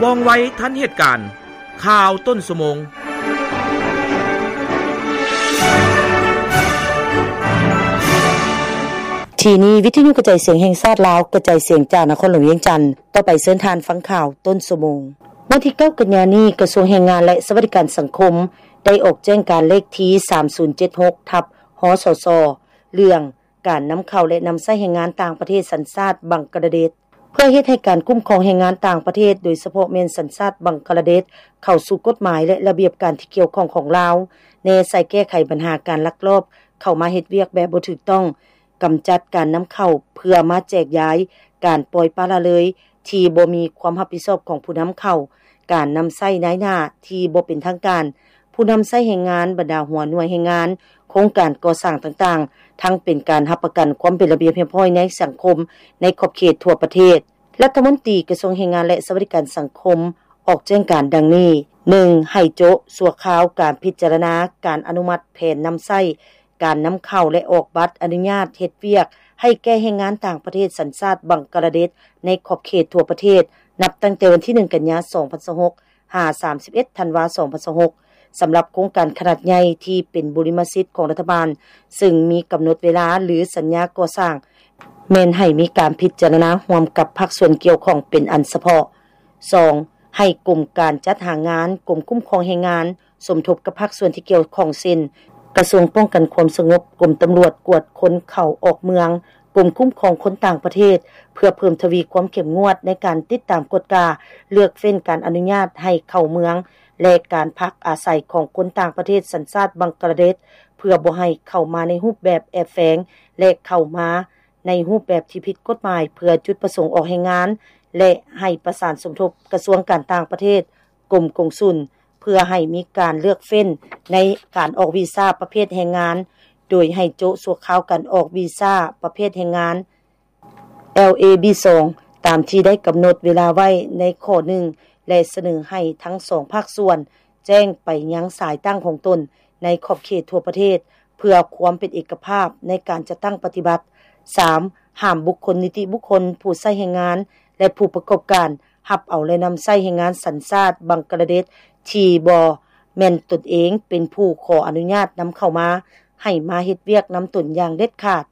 ວ່ອງໄວທັນເຫດການ. ຂ່າວຕົ້ນຊົ່ວໂມງ. ທີ່ນີ້ ວິທະຍຸກະຈາຍສຽງແຫ່ງຊາດລາວ, ກະຈາຍສຽງຈາກນະຄອນຫຼວງວຽງຈັນ. ຕໍ່ໄປເຊີນທ່ານຟັງຂ່າວຕົ້ນຊົ່ວໂມງ. ວັນທີເກົ້າ ກັນຍານີ້, ກະຊວງແຮງງານ ແລະ ສະຫວັດດີການສັງຄົມ ໄດ້ອອກແຈ້ງການເລກທີ ສາມສູນເຈັດຫົກ ທັບ ຮສສ ເລື່ອງ ການນຳເຂົ້າ ແລະ ນຳໃຊ້ແຮງງານຕ່າງປະເທດສັນຊາດບັງກະລາເດດ ເພື່ອເຮັດໃຫ້ການຄຸ້ມຄອງແຮງງານຕ່າງປະເທດ, ໂດຍສະເພາະແມ່ນສັນຊາດບັງກະລາເດດ, ເຂົ້າສູ່ກົດໝາຍ ແລະ ລະບຽບການທີ່ກ່ຽວຂ້ອງຂອງລາວ, ແນໃສ່ແກ້ໄຂບັນຫາການລັກລອບເຂົ້າມາເຮັດວຽກແບບບໍ່ຖືກຕ້ອງ, ກຳຈັດການນຳເຂົ້າເພື່ອມາແຈກຢາຍ, ການປ່ອຍປະລະເລີຍທີ່ບໍ່ມີຄວາມຮັບຜິດຊອບຂອງຜູ້ນຳເຂົ້າ, ການນຳໃຊ້ນາຍໜ້າທີ່ບໍ່ເປັນທາງການ, ຜູ້ນຳໃຊ້ແຮງງານ, ບັນດາຫົວໜ່ວຍແຮງງານ, ໂຄງການກໍ່ສ້າງຕ່າງໆ, ທັງເປັນການຮັບປະກັນຄວາມເປັນລະບຽບຮຽບຮ້ອຍໃນສັງຄົມໃນຂອບເຂດທົ່ວປະເທດ. ລັດຖະມົນຕີກະຊວງແຮງງານ ແລະ ສະຫວັດດີການສັງຄົມ ອອກແຈ້ງການດັ່ງນີ້: ໜຶ່ງ ໃຫ້ໂຈະຊົ່ວຄາວການພິຈາລະນາການອະນຸມັດແຜນນຳໃຊ້ການນຳເຂົ້າ ແລະ ອອກບັດອະນຸຍາດເຮັດວຽກໃຫ້ແກ່ແຮງງານຕ່າງປະເທດສັນຊາດບັງກະລາເດດໃນຂອບເຂດທົ່ວປະເທດ ນັບຕັ້ງແຕ່ວັນທີໜຶ່ງ ກັນຍາ ສອງພັນຊາວຫົກ ຫາ ສາມສິບເອັດ ທັນວາ ສອງພັນຊາວຫົກ ສຳລັບໂຄງການຂະໜາດໃຫຍ່ທີ່ເປັນບຸລິມະສິດຂອງລັດຖະບານ, ເຊິ່ງມີກຳນົດເວລາ ຫຼື ສັນຍາກໍ່ສ້າງ ແມ່ນໃຫ້ມີການພິຈາລະນາຮ່ວມກັບພາກສ່ວນກ່ຽວຂ້ອງເປັນອັນສະເພາະ. ສອງ ໃຫ້ກົມການຈັດຫາງານ, ກົມຄຸ້ມຄອງແຮງງານ ສົມທົບກັບພາກສ່ວນທີ່ກ່ຽວຂ້ອງ ເຊັ່ນ ກະຊວງປ້ອງກັນຄວາມສະຫງົບ, ກົມຕຳຫຼວດກວດຄົນເຂົ້າອອກເມືອງ, ກົມຄຸ້ມຄອງຄົນຕ່າງປະເທດ ເພື່ອເພີ່ມທະວີຄວາມເຂັ້ມງວດໃນການຕິດຕາມກວດກາ, ເລືອກເຟ້ນການອະນຸຍາດໃຫ້ເຂົ້າເມືອງ ແລະ ການພັກອາໄສຂອງຄົນຕ່າງປະເທດສັນຊາດບັງກະລາເດດ ເພື່ອບໍ່ໃຫ້ເຂົ້າມາໃນຮູບແບບແອບແຝງ ແລະ ເຂົ້າມາໃນຮູບແບບທີ່ຜິດກົດໝາຍ ເພື່ອຈຸດປະສົງອອກແຮງງານ ແລະ ໃຫ້ປະສານສົມທົບກະຊວງການຕ່າງປະເທດ, ກົມກົງສຸນ ເພື່ອໃຫ້ມີການເລືອກເຟ້ນໃນການອອກວີຊາປະເພດແຮງງານ, ໂດຍໃຫ້ໂຈະຊົ່ວຄາວການອອກວີຊາປະເພດແຮງງານ ແອລເອບີສອງ ຕາມທີ່ໄດ້ກຳນົດເວລາໄວ້ໃນຂໍ້ໜຶ່ງ ແລະ ສະເໜີໃຫ້ທັງສອງພາກສ່ວນແຈ້ງໄປຍັງສາຍຕັ້ງຂອງຕົນໃນຂອບເຂດທົ່ວປະເທດ ເພື່ອຄວາມເປັນເອກະພາບໃນການຈັດຕັ້ງປະຕິບັດ. ສາມ ຫ້າມບຸກຄົນ, ນິຕິບຸກຄົນ, ຜູ້ໃຊ້ແຮງງານ ແລະ ຜູ້ປະກອບການ ຮັບເອົາ ແລະ ນຳໃຊ້ແຮງງານສັນຊາດບັງກະລາເດດທີ່ບໍ່ແມ່ນຕົນເອງເປັນຜູ້ຂໍອະນຸຍາດນຳເຂົ້າມາ ໃຫ້ມາເຮັດວຽກນຳຕົນຢ່າງເດັດຂາດ.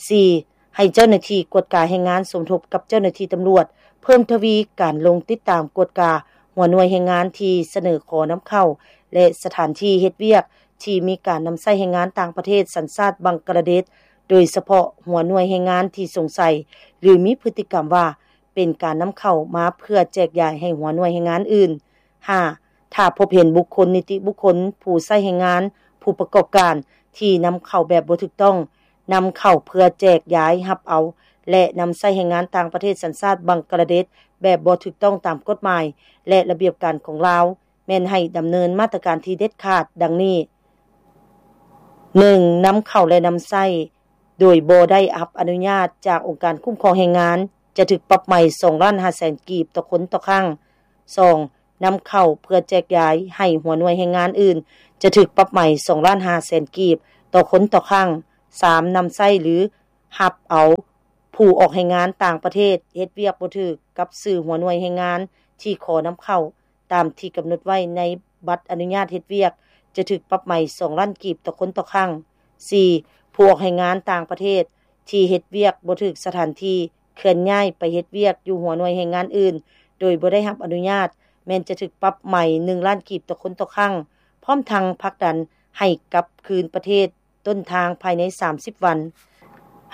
ສີ່ ໃຫ້ເຈົ້າໜ້າທີ່ກວດກາແຮງງານສົມທົບກັບເຈົ້າໜ້າທີ່ຕຳຫຼວດ ເພີ່ມທະວີການລົງຕິດຕາມກວດກາຫົວໜ່ວຍແຮງງານທີ່ສະເໜີຂໍນຳເຂົ້າ ແລະ ສະຖານທີ່ເຮັດວຽກທີ່ມີການນຳໃຊ້ແຮງງານຕ່າງປະເທດສັນຊາດບັງກະລາເດດ, ໂດຍສະເພາະຫົວໜ່ວຍແຮງງານທີ່ສົງໄສ ຫຼື ມີພຶດຕິກຳວ່າ ເປັນການນຳເຂົ້າມາເພື່ອແຈກຢາຍໃຫ້ຫົວໜ່ວຍແຮງງານອື່ນ. ຫ້າ ຖ້າພົບເຫັນບຸກຄົນ, ນິຕິບຸກຄົນ, ຜູ້ໃຊ້ແຮງງານ, ຜູ້ປະກອບການທີ່ນຳເຂົ້າແບບບໍ່ຖືກຕ້ອງ, ນຳເຂົ້າເພື່ອແຈກຢາຍ, ຮັບເອົາ ແລະ ນຳໃຊ້ແຮງງານຕ່າງປະເທດສັນຊາດບັງກະລາເດດແບບບໍ່ຖືກຕ້ອງຕາມກົດໝາຍ ແລະ ລະບຽບການຂອງລາວ, ແມ່ນໃຫ້ດຳເນີນມາດຕະການທີ່ເດັດຂາດ ດັ່ງນີ້: ໜຶ່ງ ນຳເຂົ້າ ແລະ ນຳໃຊ້ ໂດຍບໍ່ໄດ້ຮັບອະນຸຍາດຈາກອົງການຄຸ້ມຄອງແຮງງານ ຈະຖືກປັບໃໝສອງລ້ານຫ້າແສນກີບຕໍ່ຄົນຕໍ່ຄັ້ງ. ສອງ ນຳເຂົ້າເພື່ອແຈກຢາຍໃຫ້ຫົວໜ່ວຍແຮງງານອື່ນ ຈະຖືກປັບໃໝສອງລ້ານຫ້າແສນກີບຕໍ່ຄົນຕໍ່ຄັ້ງ. ສາມ ນຳໃຊ້ ຫຼື ຮັບເອົາຜູ້ອອກແຮງງານຕ່າງປະເທດເຮັດວຽກບໍ່ຖືກກັບຊື່ຫົວໜ່ວຍແຮງງານທີ່ຂໍນຳເຂົ້າ ຕາມທີ່ກຳນົດໄວ້ໃນບັດອະນຸຍາດເຮັດວຽກ ຈະຖືກປັບໃໝສອງລ້ານກີບຕໍ່ຄົນຕໍ່ຄັ້ງ. ສີ່ ຜູ້ອອກແຮງງານຕ່າງປະເທດທີ່ເຮັດວຽກບໍ່ຖືກສະຖານທີ່ ເຄື່ອນຍ້າຍໄປເຮັດວຽກຢູ່ຫົວໜ່ວຍແຮງງານອື່ນ ໂດຍບໍ່ໄດ້ຮັບອະນຸຍາດ ແມ່ນຈະຖືກປັບໃໝໜຶ່ງລ້ານກີບຕໍ່ຄົນຕໍ່ຄັ້ງ, ພ້ອມທັງຜັກດັນໃຫ້ກັບຄືນປະເທດ ຕົ້ນທາງພາຍໃນສາມສິບວັນ.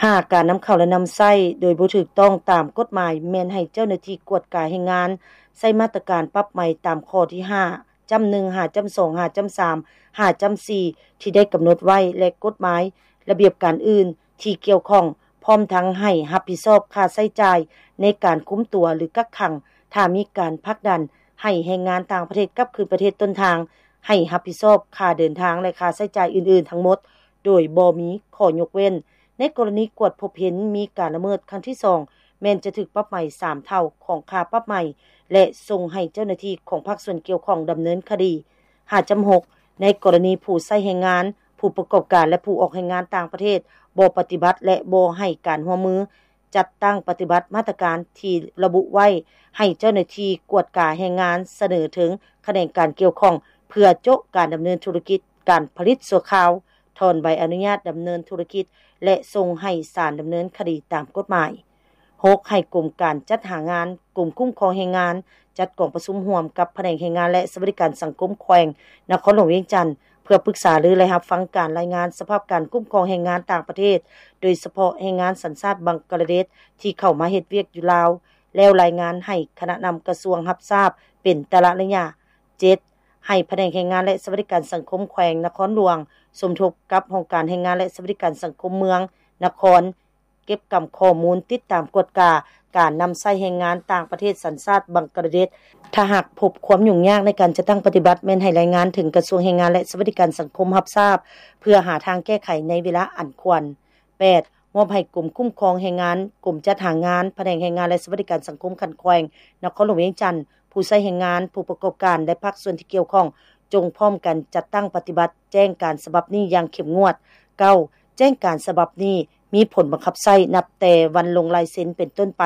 ຫ້າ ການນຳເຂົ້າ ແລະ ນຳໃຊ້ໂດຍບໍ່ຖືກຕ້ອງຕາມກົດໝາຍ ແມ່ນໃຫ້ເຈົ້າໜ້າທີ່ກວດກາແຮງງານໃຊ້ມາດຕະການປັບໃໝຕາມຂໍ້ທີຫ້າຈ້ຳໜຶ່ງ ຫ້າຈ້ຳສອງ ຫ້າຈ້ຳສາມ ຫ້າຈ້ຳສີ່ ທີ່ໄດ້ກຳນົດໄວ້ ແລະ ກົດໝາຍ, ລະບຽບການອື່ນທີ່ກ່ຽວຂ້ອງ, ພ້ອມທັງໃຫ້ຮັບຜິດຊອບຄ່າໃຊ້ຈ່າຍໃນການຄຸມຕົວ ຫຼື ກັກຂັງ ຖ້າມີການຜັກດັນໃຫ້ແຮງງານຕ່າງປະເທດກັບຄືນປະເທດຕົ້ນທາງ, ໃຫ້ຮັບຜິດຊອບຄ່າເດີນທາງ ແລະ ຄ່າໃຊ້ຈ່າຍອື່ນໆທັງໝົດ ໂດຍບໍ່ມີຂໍ້ຍົກເວັ້ນ. ໃນກໍລະນີກວດພົບເຫັນມີການລະເມີດຄັ້ງທີສອງ ແມ່ນຈະຖືກປັບໃໝສາມເທົ່າຂອງຄ່າປັບໃໝ ແລະ ສົ່ງໃຫ້ເຈົ້າໜ້າທີ່ຂອງພາກສ່ວນກ່ຽວຂ້ອງດຳເນີນຄະດີ. ຫ້າຈ້ຳຫົກ ໃນກໍລະນີຜູ້ໃຊ້ແຮງງານ, ຜູ້ປະກອບການ ແລະ ຜູ້ອອກແຮງງານຕ່າງປະເທດບໍ່ປະຕິບັດ ແລະ ບໍ່ໃຫ້ການຮ່ວມມື ຈັດຕັ້ງປະຕິບັດມາດຕະການທີ່ລະບຸໄວ້ ໃຫ້ເຈົ້າໜ້າທີ່ກວດກາແຮງງານສະເໜີເຖິງຂະແໜງການກ່ຽວຂ້ອງ ເພື່ອໂຈະການດຳເນີນທຸລະກິດການຜະລິດຊົ່ວຄາວ, ຖອນໃບອະນຸຍາດດຳເນີນທຸລະກິດ ແລະ ສົ່ງໃຫ້ສານດຳເນີນຄະດີຕາມກົດໝາຍ. ຫົກ ໃຫ້ກົມການຈັດຫາງານ, ກົມຄຸ້ມຄອງແຮງງານ ຈັດກອງປະຊຸມຮ່ວມກັບພະແນກແຮງງານ ແລະ ສະຫວັດດີການສັງຄົມແຂວງນະຄອນຫຼວງວຽງຈັນ ເພື່ອປຶກສາລື ແລະ ຮັບຟັງການລາຍງານສະພາບການຄຸ້ມຄອງແຮງງານຕ່າງປະເທດ, ໂດຍສະເພາະແຮງງານສັນຊາດບັງກະລາເດດ ທີ່ເຂົ້າມາເຮັດວຽກຢູ່ລາວ ແລ້ວລາຍງານໃຫ້ຄະນະນຳກະຊວງຮັບຊາບເປັນແຕ່ລະໄລຍະ. ເຈັດ ໃຫ້ພະແນກແຮງງານ ແລະ ສະຫວັດດີການສັງຄົມແຂວງນະຄອນຫຼວງ ສົມທົບກັບຫ້ອງການແຮງງານ ແລະ ສະຫວັດດີການສັງຄົມເມືອງ, ນະຄອນ ເກັບກຳຂໍ້ມູນ, ຕິດຕາມກວດກາການນຳໃຊ້ແຮງງານຕ່າງປະເທດສັນຊາດບັງກະລາເດດ. ຖ້າຫາກພົບຄວາມຫຍຸ້ງຍາກໃນການຈັດຕັ້ງປະຕິບັດ, ແມ່ນໃຫ້ລາຍງານເຖິງກະຊວງແຮງງານ ແລະ ສະຫວັດດີການສັງຄົມຮັບຊາບ ເພື່ອຫາທາງແກ້ໄຂໃນເວລາອັນຄວນ. ແປດ ມອບໃຫ້ກົມຄຸ້ມຄອງແຮງງານ, ກົມຈັດຫາງານ, ພະແນກແຮງງານ ແລະ ສະຫວັດດີການສັງຄົມຂັ້ນແຂວງນະຄອນຫຼວງວຽງຈັນ, ຜູ້ໃຊ້ແຮງງານ, ຜູ້ປະກອບການ ແລະ ພາກສ່ວນທີ່ກ່ຽວຂ້ອງ ຈົ່ງພ້ອມກັນຈັດຕັ້ງປະຕິບັດແຈ້ງການສະບັບນີ້ຢ່າງເຂັ້ມງວດ. ເກົ້າ ແຈ້ງການສະບັບນີ້ມີຜົນບັງຄັບໃຊ້ນັບແຕ່ວັນລົງລາຍເຊັນເປັນຕົ້ນໄປ.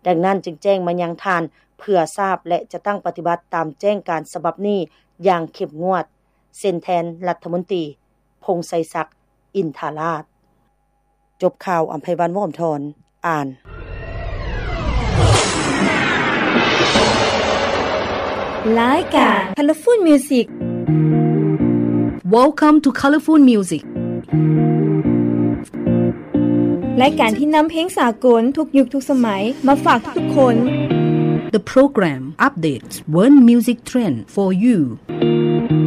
ດັ່ງນັ້ນຈຶ່ງແຈ້ງມາຍັງທ່ານເພື່ອຊາບ ແລະ ຈັດຕັ້ງປະຕິບັດຕາມແຈ້ງການສະບັບນີ້ຢ່າງເຂັ້ມງວດ. ເຊັນແທນລັດຖະມົນຕີ ພົງໄຊສັກ ອິນທາລາດ. ຈົບຂ່າວ ອຳໄພວັນ ວົງອຳທອນ ອ່ານ. ລາຍການ Colorful Music. Welcome to Colorful Music. ລາຍການທີ່ນຳເພງສາກົນທຸກຍຸກທຸກສະໄໝມາຝາກທຸກໆຄົນ. The program updates world music trend for you.